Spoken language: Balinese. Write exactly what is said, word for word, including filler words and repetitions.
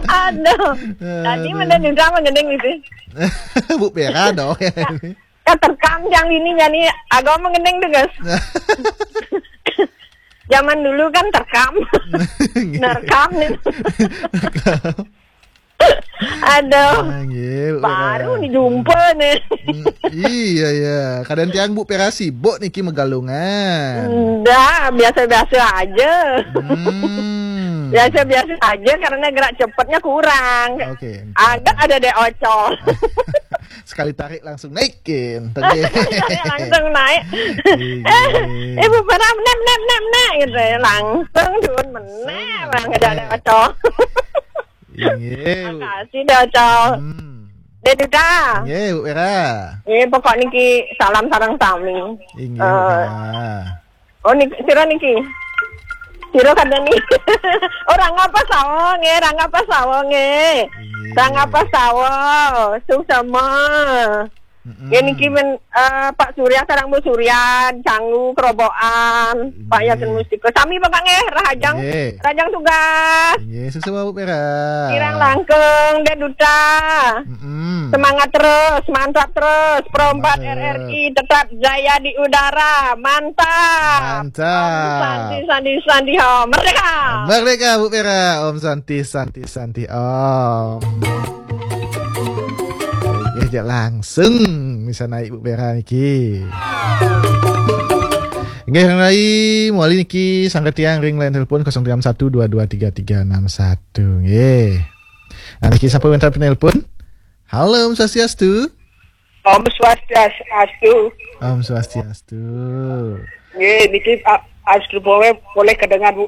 Aduh. Tadi mana Nindra menggending gitu. Bu Pera dong. Ya terkam yang ini nyanyi agak menggending tuh, guys. Zaman dulu kan terkam. Nerkam nih. Aduh. Ah, nggih, Bu Pera. Baru nih jumpa nih. Hmm, iya ya. Kadang tiang Bu Pera sibuk niki megalungan. Ndak, biasa-biasa aja. Hmm. Biasa-biasa aja karena gerak cepatnya kurang. Oke. Agak ada deh ocol. Sekali tarik langsung naikin. Tadi. Langsung naik. Iya. Eh, Ibu Pera, nem, nem, nem, nem, gitu ya. Langsung turun meneh, langsung ada ocol. Iya. Makasih deh, ocol. Hmm. Dek Duta. Iya, Bu Pera. Iya, pokok niki salam sareng sami. Iya, Bu Pera. Oh, niki, sira niki. Sira kada niki. Oh, Rangga Pasawa nggih, Rangga Pasawa nggih. Iya. Rangga Pasawa, suksma. Mm-mm. Ya niki men, eh, Pak Surya sareng Bu Surya, Canggu, Kerobokan, Pak Yasin Mustika. Sami Bapak nggih, Rahajeng. Nggih. Rahajeng tugas. Nggih, suksma Bu Pera. Kirang langkung, Dek Duta. Mm-mm. Semangat terus, mantap terus. Pro empat R R I tetap jaya di udara. Mantap. Mantap. Om Santi, Santi, Santi, Om. Merdeka. Merdeka, Bu Pera. Om Santi, Santi, Santi, Om. Ya, jak langsung bisa naik Bu Pera niki. Nggih, rai, mawali niki sangga tiang ring line telepon kosong tiga satu dua dua tiga tiga enam satu. Nggih. Nah, niki sapa wénten penelpon? Halo, Om Swastiastu. Om Swastiastu. Om Swastiastu. Nggih, niki, ah, harus boleh, boleh kedengar, Bu.